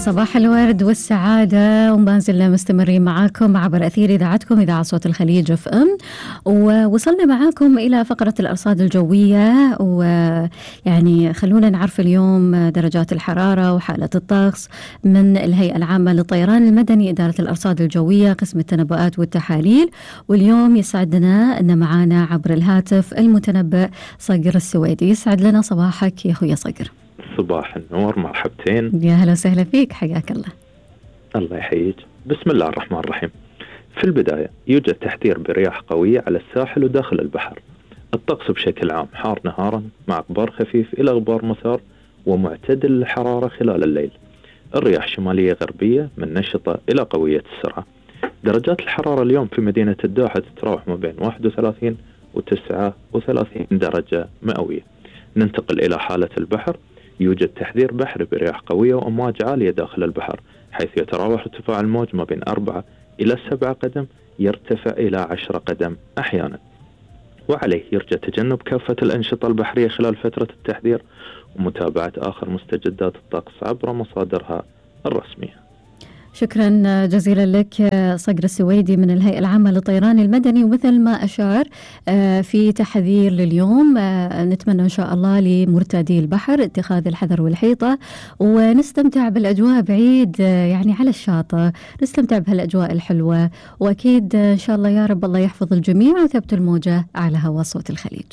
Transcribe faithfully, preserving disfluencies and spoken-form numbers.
صباح الورد والسعادة، وما زلنا مستمرين معاكم عبر أثير إذاعتكم إذاعة صوت الخليج اف ام، ووصلنا معاكم إلى فقرة الأرصاد الجوية. ويعني خلونا نعرف اليوم درجات الحرارة وحالة الطقس من الهيئة العامة للطيران المدني، إدارة الأرصاد الجوية، قسم التنبؤات والتحاليل. واليوم يسعدنا أن معانا عبر الهاتف المتنبئ صقر السويدي. يسعد لنا صباحك يا أخويا صقر. صباح النور، مرحبتين. يا هلا وسهلا فيك، حياك الله. الله يحييك. بسم الله الرحمن الرحيم. في البداية يوجد تحذير برياح قوية على الساحل وداخل البحر. الطقس بشكل عام حار نهارا مع غبار خفيف إلى غبار مسار ومعتدل الحرارة خلال الليل. الرياح شمالية غربية من نشطة إلى قوية السرعة. درجات الحرارة اليوم في مدينة الدوحة تتراوح ما بين واحد وثلاثين وتسعة وثلاثين درجة مئوية. ننتقل إلى حالة البحر. يوجد تحذير بحري برياح قوية وأمواج عالية داخل البحر، حيث يتراوح ارتفاع الموج ما بين أربعة إلى سبعة قدم، يرتفع إلى عشرة قدم أحيانا. وعليه يرجى تجنب كافة الأنشطة البحرية خلال فترة التحذير، ومتابعة آخر مستجدات الطقس عبر مصادرها الرسمية. شكرا جزيلا لك صقر السويدي من الهيئة العامة للطيران المدني. ومثل ما أشار في تحذير لليوم، نتمنى إن شاء الله لمرتادي البحر اتخاذ الحذر والحيطة، ونستمتع بالأجواء بعيد يعني على الشاطئ، نستمتع بهالأجواء الحلوة. وأكيد إن شاء الله يا رب الله يحفظ الجميع وثبت الموجة على هوا صوت الخليج.